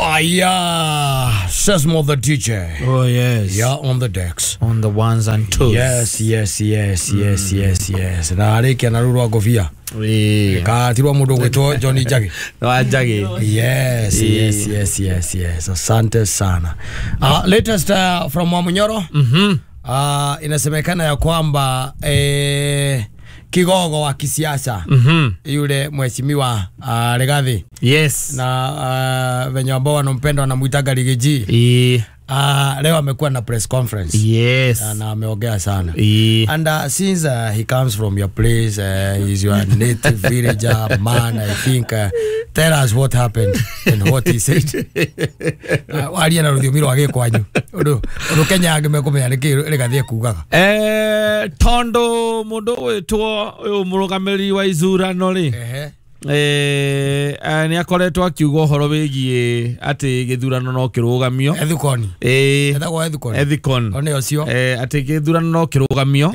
Aya, says Mother DJ. Oh yes. Yeah, on the decks. On the ones and twos. Yes, yes, yes, yes, yes, yes. Na arĩkia na rũrũ rwa ngobia. Ĩĩ. Katirwo mũndũ ũgwĩtwo Johnny Njagi. Wa Njagi. Yes, yes, yes, yes, yes. Asante sana. Latest from Wamunyoro. Inasemekana ya kwamba kigogo wa kisiasa yule mheshimiwa Rigathi. Yes. Na venye ambao wanampenda wanamuitaga Rigiji. Leo amekuwa na press conference. Yes. Na ameongea sana. And since he comes from your place, he's your native villager man, I think tell us what happened and what he said. Aria na rũthiomi rwa gĩkwanyu. Ũndũ Kenya angĩmekũmenya nĩkĩ Rigathi ekugaga. Tondu mundu witwo uyu murugamiri wa ithurano ri ni akoretwo akiuga uhoro wigie ati githurano no kirugamio Ethikoni. Etagwo Ethikoni. Ethikon one ucio ati githurano no kirugamio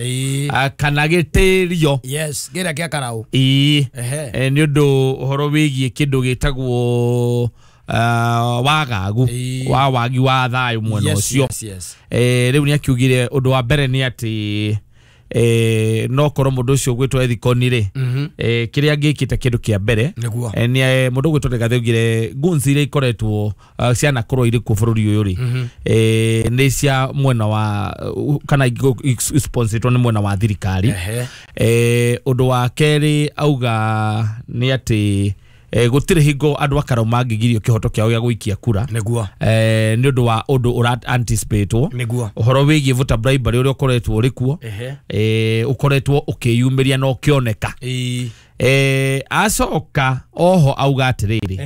kana gitirio. Yes, gira kia Karau. Ni undu uhoro wigie kindu gitagwo wagagu wa wagi wa thayo mwena ucio. Riu ni akiugire undu wa mbere ni ati no korwo mundu ucio gwitwo Ethikoni ri kiria ngikite kindu kia mbere ni mundu gwitwo Rigathi augire guns iria ikoretwo ciana korwo iri kuo bururi uyu ri ni cia mwena wa kana sponsored ni mwena wa thirikari. Undu wa keri auga ni ati gutire hingo andu akarau mangigirio kihoto kiao gia guikia kura niguo ni undu wa undu ura anticipate niguo uhoro wigie voter bribery uria ukoretwo uri kuo ukoretwo ukiyumiria na ukioneka. Acoka oho auga atiriri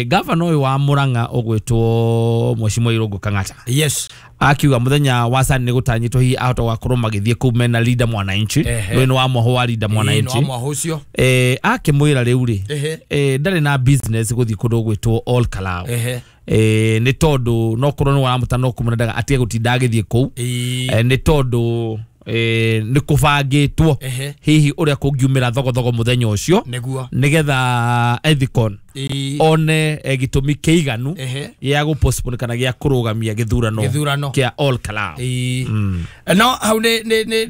gavana uyu wa Murang'a ugwitwo Mheshimiwa Irungu Kang'ata. Yes. Akiuga muthenya wa Sunday ni gutanyitwo hihi ahota gwakorwo magithie kuu mena Linda Mwananchi ni wa mwaho wa Linda Mwananchi akimwira riu ri ndari na business guthie kundu gwitwo All Kalau ni tondu no korwo ni waramuta no kumwendaga atige gutinda agithie kuu ni tondu ni kubangitwo hihi uria kungiumira thogothogo muthenya ucio nigetha Ethikon one gitumi kiiganu gia gupostpone kana gia kurugamia githurano kia All Kalau. No hau ni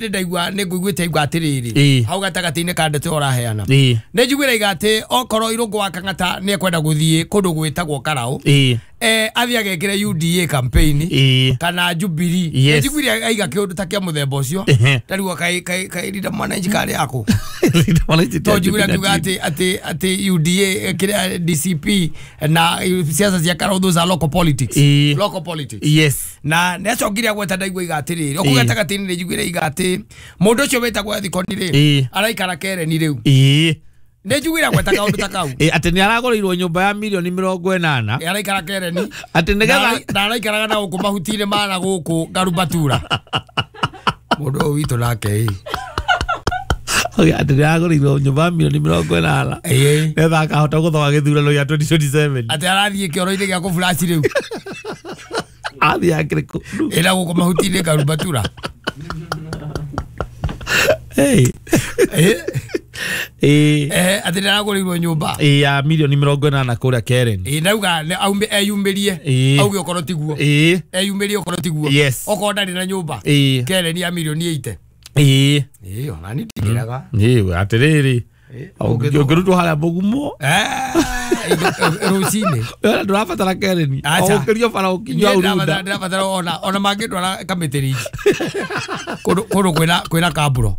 ndaigua ni nguiguite igua atiriri hau gatagati-inĩ ka ndeto ũraheana nĩ njiguire iga atĩ okorwo Irungu wa Kang'ata nĩ ekwenda gũthiĩ kũndũ gwĩtagwo Karau athiĩ agekĩre UDA campaign kana Jubilee. Nĩ njiguire aiga kĩũndũ ta kĩa mũthemba ũcio ndarigwo kaĩ Linda Mwananchi karĩ akũ to njiguire akiuga atĩ UDA kĩrĩa DCP na siasa cia Karau, those are local politics. Local politics. Yes. Na nĩ acokire agweta ndaigua iga atĩrĩrĩ okũ gatagatĩ-inĩ nĩ njiguire iga atĩ mũndũ ũcio wĩtagwo Ethikoni rĩ araikara Kereni rĩu. Nĩ njiguire agweta kaũndũ ta kau atĩ nĩ aragũrĩirwo nyũmba ya milioni 80 araikara Kereni atĩ nĩgetha na araikaraga na gũkũ mahuti-inĩ mana gũkũ Garubatura. Mũndũ ũyũ witũ nake atĩ nĩ aragũrĩirwo nyũmba ya milioni 80 nĩgetha akahota gũthoga gĩthurano gĩa 2027 atĩ arathiĩ kĩoro-inĩ gĩa kũburaci rĩu athiĩ akĩrĩ kũ ĩna gũkũ mahuti-inĩ Garubatura. Atĩ nĩ aragũrĩirwo nyũmba ya milioni 80 kũrĩa Karen. Nauga eyumĩrie auge okorwo tiguo eyumĩrie okorwo tiguo okorwo ndarĩ na nyũmba Karen ya milioni 80. Ona ni ndigĩraga atĩrĩrĩ ũngĩrutwo harĩa mũgumo rũcinĩ ndũrabatara Karen ũkĩrio bara ũkinyua Urunda ndĩrabatara ona mangĩndwara kamĩtĩ ringi kũndũ kwĩna kamburo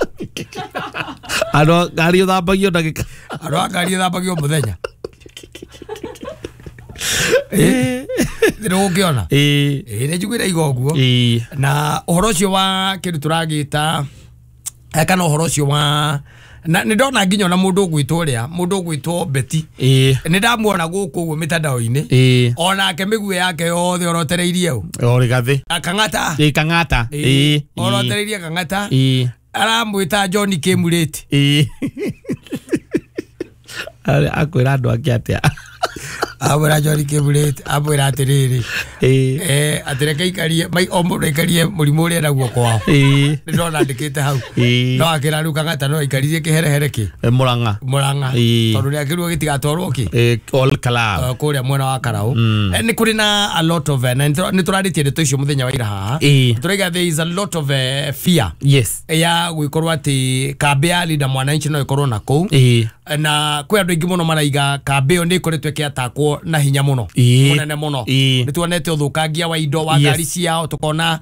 andũ ngari ũthambagio ndagĩka andũ a ngari ũthambagio mũthenya nĩũgũkĩona nĩ njiguire iga ũguo na ũhoro ũcio wa kĩndũ tũragĩta kana ũhoro ũcio wa na nĩ ndona nginya ona mũndũ ũgwĩtwo ũrĩa mũndũ ũgwĩtwo Betty nĩ ndamuona gũkũ ũguo mĩtandao-inĩ onake mĩguĩ yake yothe orotereirie ũ o Rigathi Kang'ata Kang'ata orotereirie Kang'ata aramwĩta John Kĩmurĩti akwĩra andũ ake atĩa Amwĩra John Kĩmurĩte amwĩra atĩrĩrĩ atĩreke ikarie o mũndũ aikarie mũrimũ ũrĩa naguo kwao. Nĩ ndona andĩkĩte hau. No akĩra rĩu Kang'ata no aikaririe kĩherehere kĩ Murang'a tondũ nĩakĩrwo gĩtigatwarwo kĩ All Kalau kũrĩa mwena wa Karau. Nĩ kũrĩ na a lot of nĩ tũrarĩtie ndeto icio mũthenya wa ira haha. Tũraiga there is a lot of fear. Yes. Ya gũgĩkorwo atĩ kambĩ ya Linda Mwananchi no ĩkorwo na kũu. Na kwĩ andũ aingĩ mũno maraiga kambĩ ĩyo nĩ ĩkoretwo ĩkĩatakwo na hinya mũno mũnene mũno. Nĩ tuonete ũthũkangia wa indo wa ngari ciao, tukona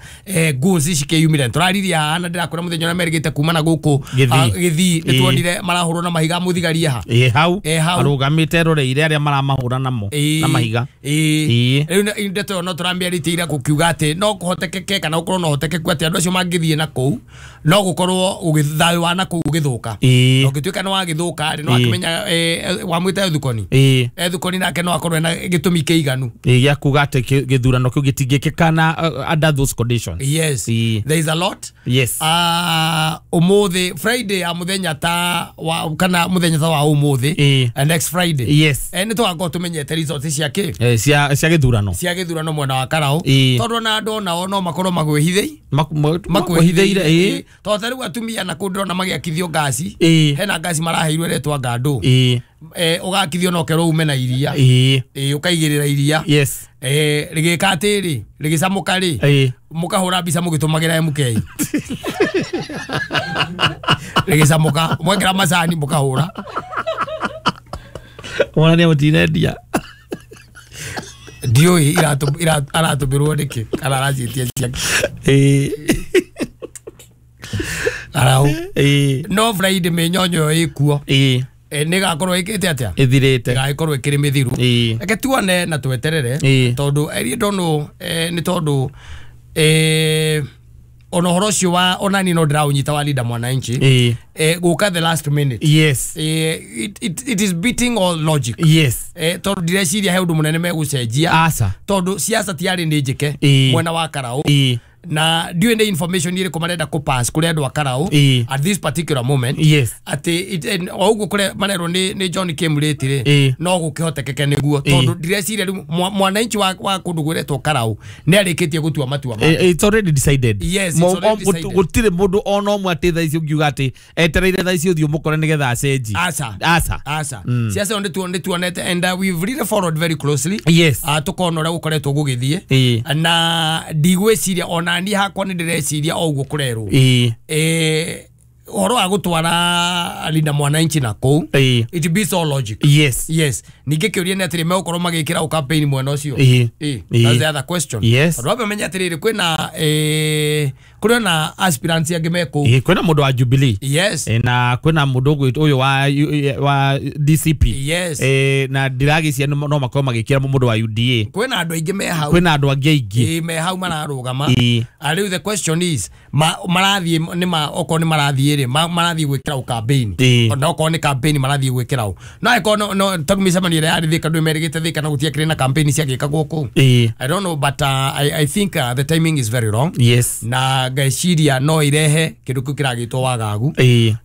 goods cikĩyumĩra. Tũraririe haha na ndĩrakwĩra mũthenya ũrĩa merĩgĩte kuma na gũkũ Gĩthii nĩ tuonire marahũrwo na mahiga mũthigari haha hau arũgamĩte eroreire arĩa maramahũra namo na mahiga. Rĩu ndeto ĩyo no tũramĩarĩtie gũkiuga atĩ no kũhotekeke kana gũkorwo no ũhotekeku atĩ andũ acio mangĩthiĩ na kũu no gũkorwo thayũ wa na kũu ũgĩthũka. Ũngĩtuĩka nĩ wagĩthũka rĩ, no akĩmenya wamwĩta Ethukoni. Ethukoni nake no akorwo na gĩtũmi kĩiganu gĩa kuga atĩ gĩthurano kĩu gĩtingĩkĩka na under those conditions. Yes. There is a lot. Yes. Ũmũthĩ Friday ya mũthenya ta wa kana mũthenya ta wa ũmũthĩ next Friday. Yes. Nĩ tũgakorwo tũmenyete results cia kĩ cia gĩthurano cia gĩthurano mwena wa Karau. Tondũ ona andũ onao no makorwo magwĩhithĩire tondũ ta rĩu atumia na kũu ndĩrona magĩakithio ngaci. Hena ngaci maraheirwo ĩretwa ngandũ. Ũgakithio na ũkerwo ume na iria. Ũkaigĩrĩra iria. Yes. Rĩgĩka atĩrĩ rĩgĩcamũka rĩ mũkahũra mbica mũgĩtũmagĩra MK. Rĩgĩcamũka mwekĩra macani mũkahũra. Wona nĩ mũtinendia. Ndiũĩ aratũmĩrwo nĩkĩ kana araciĩtia ciake. Arau. No Friday mĩnyonyo ĩyo ĩkuo. Nĩ gakorwo ĩkĩte atĩa ĩthirĩte ĩgagĩkorwo ĩkĩrĩ mĩthiru. Reke tuone na tweterere tondũ I don't know nĩ tondũ ona ũhoro ũcio wa ona niĩ no ndĩraũnyita wa Linda Mwananchi gũka the last minute. Yes. It is beating all logic. Yes. Tondũ ndireciria he ũndũ mũnene megũcenjia. Aca. Tondũ siasa tiarĩ nĩ njĩke mwena wa Karau. Na ndiũĩ nĩ information ĩrĩkũ marenda kũ pass kũrĩ andũ a Karau at this particular moment. Yes. Atĩ o ũguo kũrĩa marerwo nĩ John Kĩmurĩti rĩ no gũkĩhotekeke nĩguo tondũ ndireciria rĩu mwananchi wa kũndũ gwĩretwo Karau nĩ arĩkĩtie gũtua matua make. It's already decided. Yes, it's already decided. Gũtirĩ mũndũ ona ũmwe atĩ thaa ici ũngiuga atĩ etereire thaa ici ũthiĩ ũmũkore nĩgetha acenjie. Aca. Aca. Aca. Siasa ĩyo nĩ tuonete and we've really followed very closely. Yes. Tũkona ũrĩa gũkoretwo gũgĩthiĩ. Na ndigwĩciria ona niĩ hakwa nĩ ndĩreciria o ũguo kũrerwo. Ũhoro wa gũtwara Linda Mwananchi na kũu it beats all logic. Yes. Yes. Ningĩ kĩũria nĩ atĩrĩ megũkorwo magĩkĩra ũ campaign mwena ũcio. That's the other question. Yes. Tondũ wambe menye atĩrĩrĩ kwĩna kũrĩ na aspirants angĩ me kũu. Kwĩna mũndũ wa Jubilee. Yes. Na kwĩna mũndũ ũyũ wa DCP. Yes. Na ndiragĩcia no makorwo magĩkĩra mũndũ wa UDA. Kwĩna andũ aingĩ me hau. Kwĩna andũ angĩ aingĩ. Me hau mararũgama. Rĩu the question is marathiĩ nĩ ma okorwo nĩ marathiĩ rĩ marathiĩ gwĩkĩra campaign. Ona okorwo nĩ campaign marathiĩ gwĩkĩra no angĩkorwo no tondũ mĩcemanio ĩrĩa yarĩ Thika ndũ merĩgĩte Thika na gũtiakĩrĩ na campaign ciagĩkagwo kũu. I don't know but I think the timing is very wrong. Yes. Na ngeciria no irehe kĩndũ kĩu kĩragĩtwo wagagu.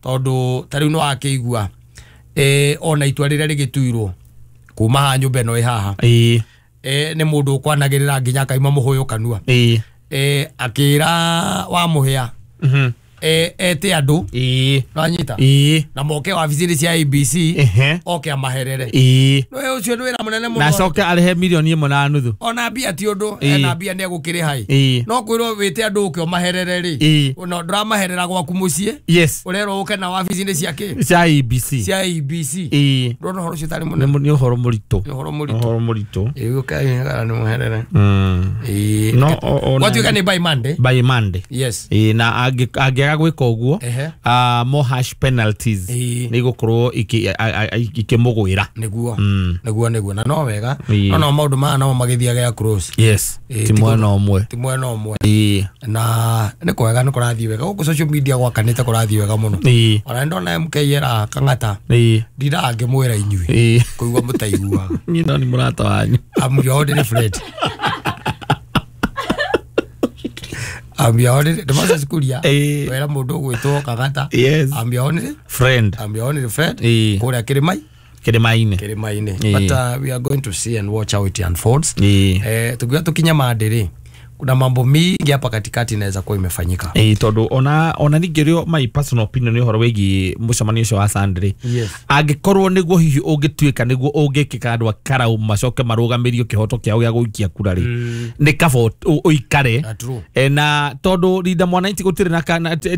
Tondũ ta rĩu no akĩigua ona itua rĩrĩa rĩgĩtuirwo kuma haha nyũmba ĩno ĩ haha nĩ mũndũ ũkwanagĩrĩra nginya akaima mũhũyũ kanua. Akĩra wa Mũhĩa ete andũ nĩwanyita na moke wabici-inĩ cia ABC oke amaherere. No ũcio nĩ wĩra mũnene mũno. Na acoke arĩhe mirioni 1.5. Ona mbia ti ũndũ ena mbia nĩ egũkĩrĩha ĩ. No kwĩrwo wĩte andũ ũke ũmaherere rĩ no ndũramaherera gwaku mũciĩ. Yes. Ũrerwo ũke na wabici-inĩ cia kĩ? Cia ABC. Cia ABC. Ndũrona ũhoro ũcio ũtarĩ mũnene. Nĩ ũhoro mũritũ. Nĩ ũhoro mũritũ. Ũhoro mũritũ. Ũke nĩ mũherere. No gwatuĩka nĩ by Monday. By Monday. Yes. Na angĩaga gwĩka ũguo more harsh penalties nĩ igũkorwo ikĩmũgwĩra. Nĩguo. Nĩguo na no wega. No maũndũ maya namo magĩthiaga across. Yes. Ti mwena ũmwe. Ti mwena ũmwe. Na nĩ kwega nĩ kũrathiĩ wega gũkũ social media gwakanĩte kũrathiĩ wega mũno. Ona ndona MK era Kang'ata. Ndindaga ngĩmwĩra inyuĩ kũigua mũtaiguaga. Niĩ no nĩ mũrata wanyu. I'm your ordinary friend. I'm your ordinary ndĩmaca cukuria wera mũndũ ũgwĩtwo Kang'ata. Yes. I'm your ordinary friend. I'm your ordinary friend. Kũrĩa Kĩrĩmai. Kirimaini. But we are going to see and watch how it unfolds. Tukiwa tukinya maadili kuna mambo mingi hapa katikati inaweza kuwa imefanyika. Tondu ona ningĩrĩo my personal opinion ũhoro wĩgiĩ mũcemanio ũcio wa Sunday. Yes. Angĩkorwo nĩguo hihi ũngĩtuĩka nĩguo ũngĩkĩka andũ a Karau macoke marũgamĩrio kĩhoto kĩao gĩa gũikia kura rĩ, nĩ kaba ũikare. Na tondũ Linda Mwananchi gũtirĩ na kana ti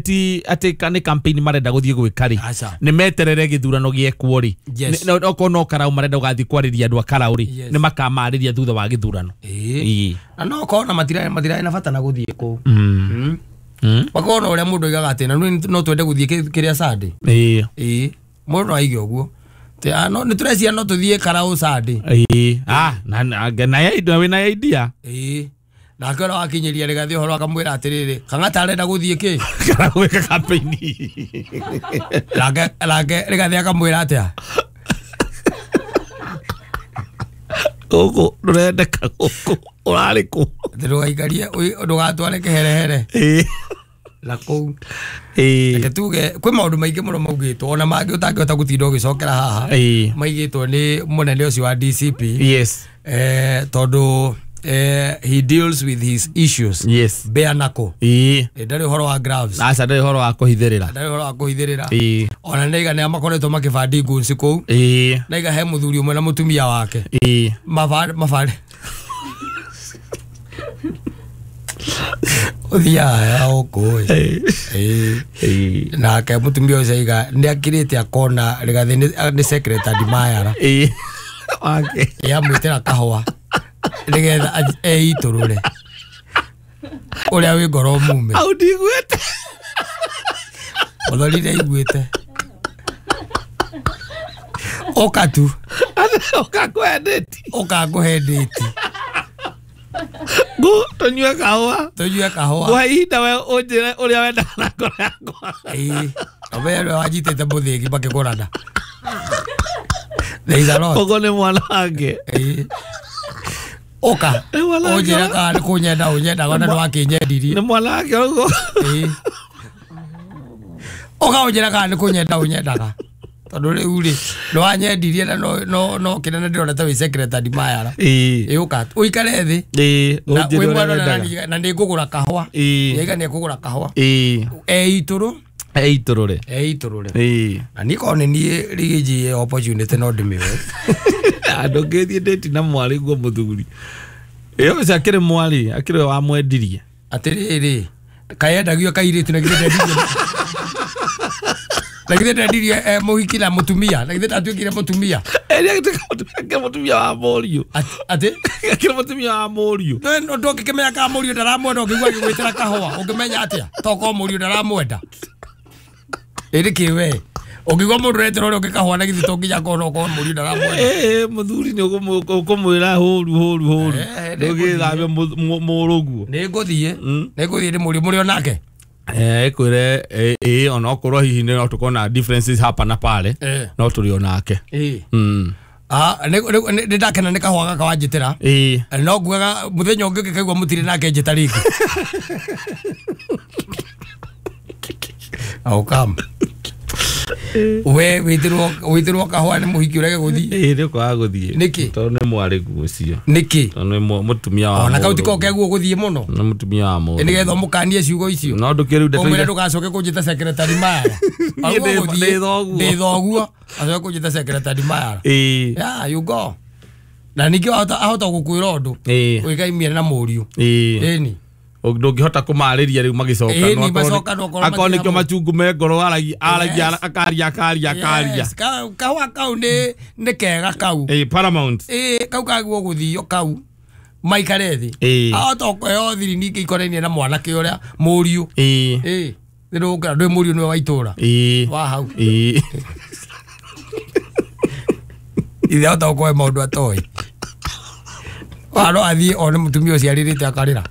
atĩ nĩ campaign marenda gũthiĩ gwĩka rĩ, nĩ meterere gĩthurano gĩekwo rĩ, okorwo no Karau marenda gũgathiĩ kwarĩria andũ a Karau rĩ, nĩ makamarĩria thutha wa gĩthurano. Na no kona matira na bata na guthie ku. Wakona uria mundu aigaga ati na no twende guthie kiria Sunday. Mundu no aige uguo no ni turecia no tuthie Karau Sunday. Na na wina idea. Na kero akinyiria rigathi uhoro akamwira atiriri Kang'ata arenda guthie ki Karau gwika campaign. Nake rigathi akamwira atia guku ndurendeka guku urari ku ndugaikarie ndugatware kiherehere na kuu. Reke tuge kwi maundu maingi muno maugitwo ona mangi utangihota gutinda ugicokera haha maigitwo ni munene ucio wa DCP. Yes. Tondu he deals with his issues. Yes. Bare knuckle. Ndari uhoro wa gloves. Aca ndari uhoro wa kuhithirira. Ndari uhoro wa kuhithirira. Ona naiga ni makoretwo makibandi guns kuu. Naiga he muthuri umwe na mutumia wake. Mabandi uthia uku nake mutumia ucio aiga ni akirite akona rigathi ni secretary Mayara. Wake yamwitira kahua nigetha eiturure uria wi ngoro mume au ndigwete muthorire aiguite oka tu oka kwendeti oka nguhendeti ngu tunyue kahua kwa ihinda we unjire uria wendaga na ngoro yakwa. Obe wajitete muthingi makigurana. There is a lot. Ogo ni mwana wake. Oka unjire kana ni kunyenda unyendaga na nĩwakinyendirie ni mwana wake ugo. Oka unjire kana ni kunyenda unyendaga tondu riu ri nĩwanyendirie na no kinene ndirona ta wi secretary Mayara. Uka uikare thi na nĩ ngũgũra kahũa. Yaiga nĩ ngũgũra kahũa eitũrũ eiturure na niko ni niĩ rigiji opportunity no ndĩmĩoe. Andũ ngĩthiĩ ndĩti na mwarĩ guo mũthuri ĩyo ũcio akĩrĩ mwarĩ akĩrĩ wa mwendirie atĩrĩrĩ kayendagio kairĩtu na githĩ ndendirie na githĩ ndendirie mũhiki na mũtumia na githĩ ndatuĩkire mũtumia akĩrĩ mũtumia wa mũriũ atĩ akĩrĩ mũtumia wa mũriũ no ndũngĩkĩmenya kana mũriũ ndaramwenda ũngĩigua agĩgwĩtĩra kahũa ũngĩmenya atĩa tokorwo mũriũ ndaramwenda ĩrĩ kĩwe ũngĩigua mũndũ aretĩra ũrĩa ũngĩ kahũa na githĩ to nginya akorwo okorwo mũriũ ndaramwenda. Mũthuri nĩ ũkũmwĩra hũru hũru hũru ndũgĩthambe mũrũguo. Nĩ ngũthiĩ nĩ mũriũ mũrĩ onake ekwĩre onokorwo hihi no tũkorwo na differences hapa na pale no tũrĩ onake. Nĩ ndakena nĩ kahũa gaka wanjĩtĩra no nguaga mũthenya ũngĩ ngĩkaigua mũtirĩ nake njĩta rĩngĩ. How come? We wĩtĩrwo kahũa nĩ mũhiki ũrege gũthiĩ. Nĩ ũkwaga gũthiĩ nĩkĩ? Tondũ nĩ mwarĩ guo ũcio. Nĩkĩ? Tondũ nĩ mũtumia wa ona kau tiko keguo gũthiĩ mũno nĩ mũtumia wa mũndũ nĩgetha ũmũkanie ciugo icio no ndũkĩrĩu ndeto ũmwĩre ndũgacoke kũnjĩta secretary Mayara. Ndĩ thoguo acoke kũnjĩta secretary Mayara. Yeah, you go. Na ningĩ ahota gũkwĩra ũndũ ũĩkaimie na mũriũ. Ĩni ndũngĩhota kũmarĩria rĩu magĩcoka akorwo nĩkĩo machungu me ngoro aragia akaria akaria akaria. Kahũa kau nĩ kega kau. Paramount. Kau kaguo gũthio kau maikare thĩ ahota ũkũheo thiri ningĩ ikonainie na mwanake ũrĩa mũriũ. Ndũngĩra ndwĩ mũriũ nĩwe wa itũra wa hau. Ithe ahota gũkũhe maũndũ atoĩ no athiĩ one mũtumia ũcio arĩrĩte akarĩra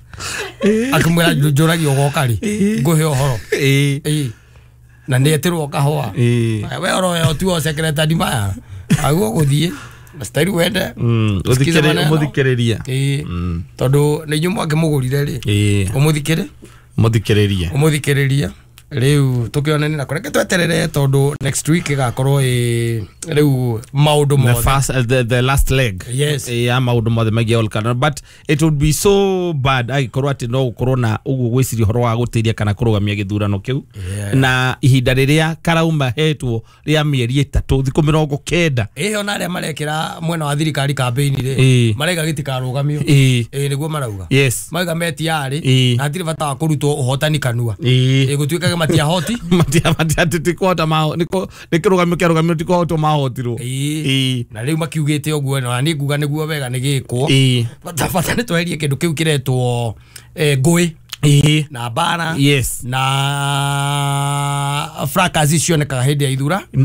akimwira njũragia ũgoka rĩ ngũhe ũhoro na nĩ etĩrwo kahũa we oroyo tu o secretary Mayara aguo gũthiĩ na style wende ũthikĩrĩrie tondũ nĩ inyuĩ mwakĩmũgũrire rĩ ũmũthikĩrĩrie Rĩu tũkĩonane na kũreke tweterere tondũ next week ĩgakorwo ĩ rĩu maũndũ the mothe. first the last leg. Yes. Ya maũndũ mothe megiĩ Ol Kalou, but it would be so bad angĩkorwo atĩ no gũkorwo na ũguo gwĩciria ũhoro wa gũtĩria kana kũrũgamia gĩthurano kĩu. Na ihinda rĩrĩa Karauma hetwo rĩa mĩeri 3 thikũ 90. Ĩĩ ona arĩa marekĩra mwena wa thirikari campaign rĩ Ĩĩ. maraiga gĩtikarũgamio. Ĩĩ. Ĩĩ nĩguo marauga. Yes. Marauga metiarĩ Ĩĩ. na hatirĩ bata wa kũrutwo ũhotani kanua. Ĩĩ. Ĩĩ gũtuĩkage matiahoti. Matikũhota nĩ kĩrũgamio kĩarũgamio tikũhotwo mahotirwo. Ĩĩ. Ĩĩ. Na rĩu makiugĩte ũguo na niĩ nguga nĩguo wega nĩ gĩkwo. Ĩĩ. Bata bata nĩ tweherie kĩndũ kĩu kĩretwo ngũĩ Ĩĩ. na mbara. Yes. Na fracas cionekaga hĩndĩ ya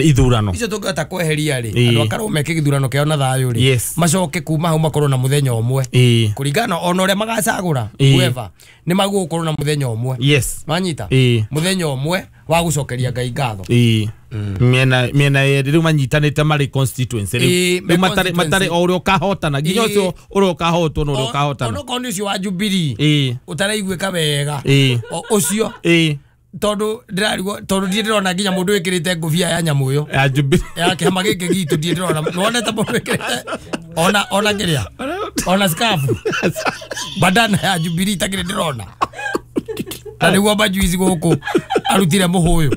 ithurano icio tũngĩhota kweheria rĩ Ĩĩ. andũ akarwo meke gĩthurano kĩao na thayũ rĩ. Yes. Macoke kuma hau makorwo na mũthenya ũmwe. Ĩĩ. Kũringana ona ũrĩa magacagũra Ĩĩ. whoever nĩ magũgũkorwo na mũthenya ũmwe. Yes. Manyita Ĩĩ. mũthenya ũmwe wa gũcokeria Ngai ngatho. Ĩĩ. Mĩena yerĩ rĩu manyitanĩte marĩ constituency Ĩĩ, rĩu me Rĩu matarĩ constituency. o ũrĩa ũkahotana nginya Ĩĩ. ũcio ũrĩa ũkahotwo na ũrĩa ũkahotana. Onokorwo nĩ ũcio wa Jubilee Ĩĩ. ũtaraiguĩka wega. Ĩĩ. Ũcio Ĩĩ. tondũ ndĩrarigwo tondũ ndirĩ ndĩrona nginya mũndũ wĩkĩrĩte ngũbia ya nyamũ ĩyo Ya Jubilee. ya kĩama gĩkĩ gitũ ndirĩ ndĩrona nĩwonete mũndũ wĩkĩrĩte ona kĩrĩa ona scarf bandana ya Jubilee itakĩrĩ ndĩrona na nĩguo majuici gũkũ arutire mũhũyũ.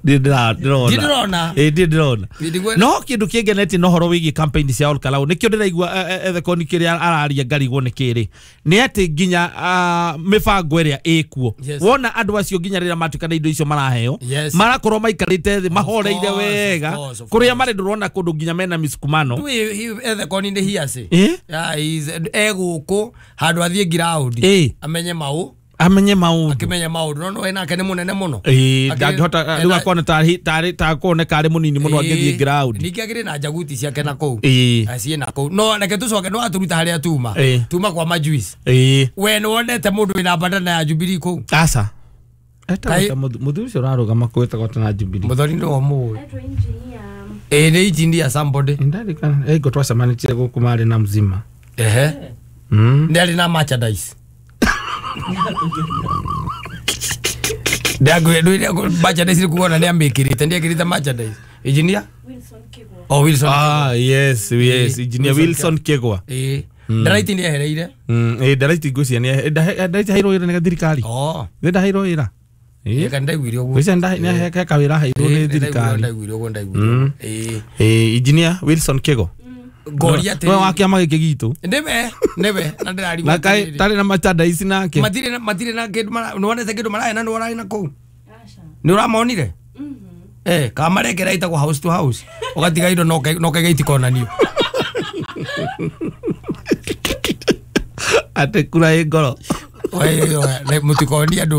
Ndirĩ ndĩrona. Ndirĩ ndĩrona. Ĩĩ ndirĩ ndĩrona. Nĩguo- No kĩndũ kĩngenetie na ũhoro wĩgiĩ campaign cia Ol Kalou nĩkĩo ndĩraigua Ethekoni kĩrĩa araria ngarigwo nĩ kĩrĩ nĩ atĩ nginya mĩbango ĩrĩa ĩkuo. Yes. Wona andũ acio nginya rĩrĩa matuĩka na indo icio maraheo Yes. marakorwo maikarĩte thĩ mahoreire course, wega of course, of kũrĩa course. marĩ ndũrona kũndũ nginya mena misukumano. Ethekoni nĩ hiaci. Ĩĩ. Egũkũ handũ athiĩ ground Ĩĩ. amenye maũ Amenye maũndũ. akĩmenye maũndũ no no nake nĩ mũnene mũno. Ĩĩ Akĩrĩ- ndangĩhota rĩu akona tarĩ koneka arĩ mũnini mũno angĩthiĩ ground. Ningĩ akĩrĩ na njaguti ciake na kũu. Ĩĩ. Aciĩ na kũu no reke tũcoke no atũruta harĩa tuma. Ĩĩ. Tuma kwa majuice. Ĩĩ. We nĩ wonete mũndũ wĩna bandana ya Jubilee kũu? Aca. Kaĩ- Etagwo mũthuri ũcio ũrarũgama kwĩtagwo ta na Jubilee. Mũthoni nĩwe mũĩ. Etwo engineer. Ĩĩ nĩ engineer somebody. Ndarikana ĩngo twacemanĩtie gũkũ marĩ na mzima. Ehe. Nĩ arĩ na merchandise. Merchandise nĩ kuona nĩ amĩkĩrĩte nĩ ekĩrĩte merchandise. Engineer? Wilson Kigwa. Oh Wilson. Yes, yes, Ĩĩ, engineer Wilson Wilson Kigwa. Ĩĩ. Ndaraiti nĩ ehereire. Ĩĩ ndaraiti ngwĩciria nĩ ndaraiti aheirwo wĩra nĩ thirikari. Oh. Nĩ ndaheirwo wĩra. Ĩĩ. Ĩĩ ndaiguire ũguo. Ngwĩciria nĩ he kawĩra aheirwo nĩ thirikari. Ndaiguire ũguo ndaiguire ũguo. Ĩĩ. Ĩĩ engineer Wilson Kigwa. Ngoria atĩrĩrĩ. Nĩwe wa kĩama gĩkĩ gitũ. Nĩwe nĩwe na ndĩrarigwo Na kaĩ atĩrĩrĩ. tarĩ na merchandise nake. Matirĩ na kĩndũ nĩwonete kĩndũ marahena nĩ ũrarĩ na kũu? Aca. Nĩ ũramonire? Kana marekera ĩtagwo house to house ũgatiga indo no kaiga itikonanio. Atĩ kura ĩ ngoro. Mũtikonie andũ.